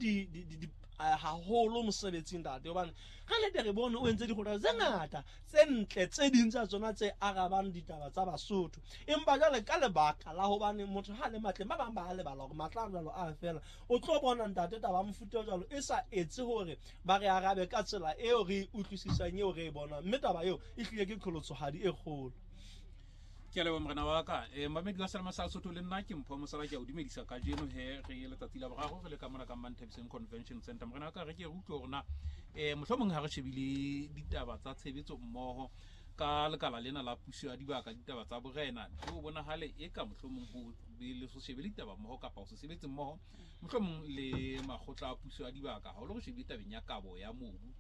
di haholo mosebetsing ntate, hobane ga nnete re bone o entse dikgothatso tse ngata tse ntle, tse ding tsa tsona tse arabang ditaba tsa Basotho. Empa jwale ka lebaka la hobane motho ha le matleng, ba bang ba a lebala hore matla a jwalo a fela. O tlo bona ntate taba mofuta o jwalo e sa etse hore ba re arabe ka tsela eo re e utlwisisang, eo re e bonang, mme taba eo e hlile ke qholotsohadi e kgolo. Ke a leboha morena wa ka. Mamedi wa Selema sa Lesotho, le nna ke Mpho Mosala, ke a o dumedisa kajeno he re letsatsi la boraro re le ka mona ka Manthabiseng Convention Center. Morena wa ka, re ke re utlwe hore na mohlomong ha re shebile ditaba tsa tshebetso mmoho ka lekala lena la puso ya dibaka, ditaba tsa borena, ho bonahale e ka mohlomong ho be le so shebe ditaba mmoho kapa ho se sebetse mmoho mohlomong le makgotla a puso ya dibaka, haholo re shebile tabeng ya kabo ya mobu,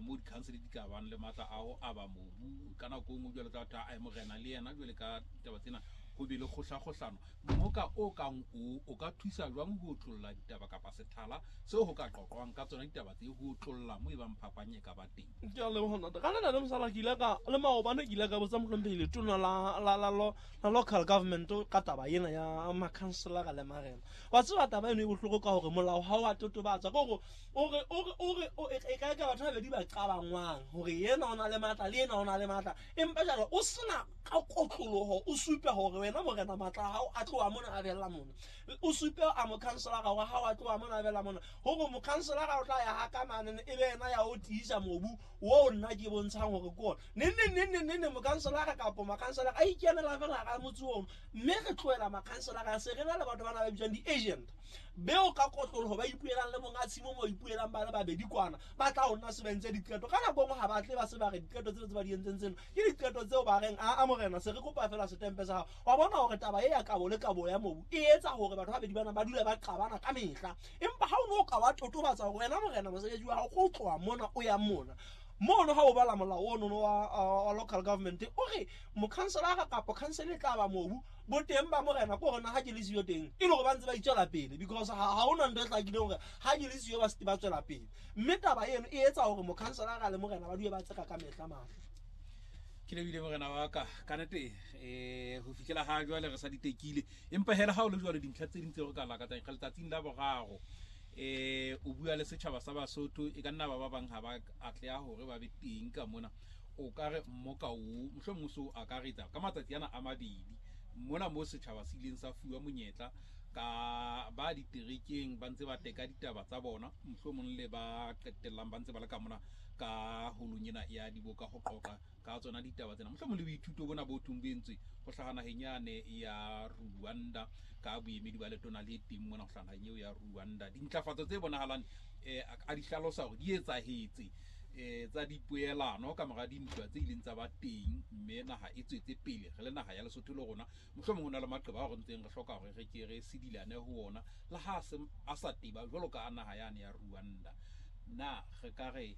mo di-council di ka bang le matla a ho aba mobu ka nako e nngwe jwale tla tha morena le yena jwale ka ditaba tsena ho be le kgohlakgohlano. Mmoka o kang o ka thusa jwang ho otlolla ditaba kapa sethala seo ho ka qoqwang ka tsona ditaba tse, ho otlolla mo e bang phapang e ka ba teng? Ke a leboha ntate. Ka lena le mosala ke ile ka le maobane ke ile ka botsa mohlomphehi letona la local government ka taba ena ya makhanselara le marena. Wa tseba taba eno e bohloko ka hore molao ha wa totobatsa, ke hore o re e ka ka batho ba babedi ba qabangwang hore yena o na le matla le yena o na le matla, empa jwale o sena ka kotloloho o supe hore wena morena matla a hao a tloha mona a bella mona, o supe a mokhanselara wa hao a tloha mona a bella mona, hore mokhanselara o tla ya ha ka mane e be yena ya o tiisa mobu oo nna ke bontshang hore ke ona. Neng neng neng neng neng neng mokhanselara kapa makhanselara a ikenela fela hara motse ono, mme re tlohela makhanselara, se re na le batho bana ba bitswang di-agent beo ka kotloloho ba ipuelang le monga tshimo, mo ipuelang ba le babedi kwana, ba tla ho nna se ba entse diqeto. Ka nako nngwe ha ba tle ba se ba re diqeto tseo tse ba di entseng tseno ke diqeto tseo ba reng a morena se re kopa fela setempe sa hao. Wa bona hore taba e ya kabo le kabo ya mobu e etsa hore batho ba babedi bana ba dule ba qabana ka mehla. Empa ha o no ka wa totobatsa hore wena morena mosebetsi wa hao ke ho tloha mona o yang mona mono, ha o bala molao ono wa local government o re mokhanselara kapa council e tla ba mobu boteng ba morena ke hore na ha ke le siyo teng, e le hore ba ntse ba itswela pele, because ha hona ntho e hlakileng hore ha ke le siyo ba se ba tswela pele. Mme taba eno e etsa hore mokhanselara le morena ba dule ba tseka ka mehla matla. Ke lebile morena wa ka. Ka nete ho fihlela ha jwale re sa di tekile, empa hela ha o le jwale dintlha tse ding tseo re ka lakatsang re letsatsing la boraro o bua le setjhaba sa Basotho, e ka nna ba ba bang ha ba atleha hore ba be teng ka mona, o ka re mmoka o mohlomong o so akaretsa ka matsatsi ana a mabedi mona mo setjhaba se ileng sa fuwa monyetla ka ba diterekeng ba ntse ba teka ditaba tsa bona, mohlomong le ba qetellang ba ntse ba le ka mona ka holong ena ya diboka ho qoqa ka tsona ditaba tsena, mohlomong le boithuto bona bo thong bo entswe ho hlaha naheng yane ya Rwanda ka boemedi ba letona le teng mona ho hlaha naheng eo ya Rwanda, dintlafatso tse bonahalang a di hlalosa hore di etsahetse tsa dipoelano ka mora dintwa tse ileng tsa ba teng, mme naha e tswetse pele. Re le naha ya Lesotho le rona mohlomong ho na le maqeba ao re ntseng re hloka hore re ke re sedilane ho ona le ha a sa teba jwalo ka a naha yane ya Rwanda. Na re ka re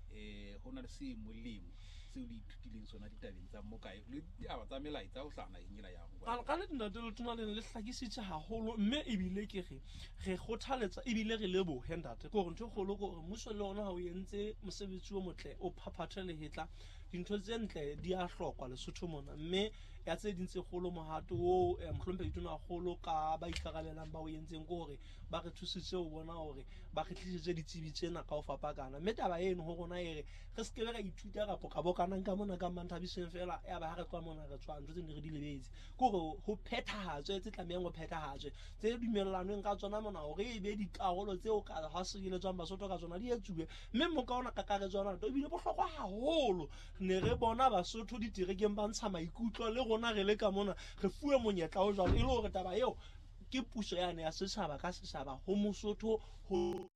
ho na le se molemo seo le ithutileng sona ditabeng tsa mokae le ditaba tsa melaetsa ho hlaha naheng ena ya Rwanda? Ka nnete ntate letona lena le hlakisitse haholo, mme ebile ke re kgothaletsa ebile re lebohe ntate. Ke hore ntho e kgolo ke hore mmuso le ona ha o entse mosebetsi o motle, o phaphathe lehetla, dintho tse ntle di a hlokwa Lesotho mona, mme ya tse ding tse kgolo mohato oo mohlomphehi tonakgolo ka ba ikarabellang ba o entseng ke hore ba re thusitse ho bona hore ba re tlisitse ditsebi tsena ka ho fapakana. Mme taba eno ho rona e re se kebe ra ithuta kapo ka bokanang ka mona ka Manthabiseng fela, ya ba ha re tloha mona re tswa ntho tse ne re di lebetse, ke hore ho phethahatswe tse tlamehang ho phethahatswe tse dumellanweng ka tsona mona, hore e be dikarolo tseo ka ha sireletswang Basotho ka tsona di etsuwe. Mme moka ona kakaretso ona ebile bohlokwa haholo, ne re bona Basotho diterekeng ba ntsha maikutlo, le rona re le ka mona re fuwe monyetla o jwalo, e le hore taba eo ke puso yane ya setjhaba ka setjhaba ho Mosotho ho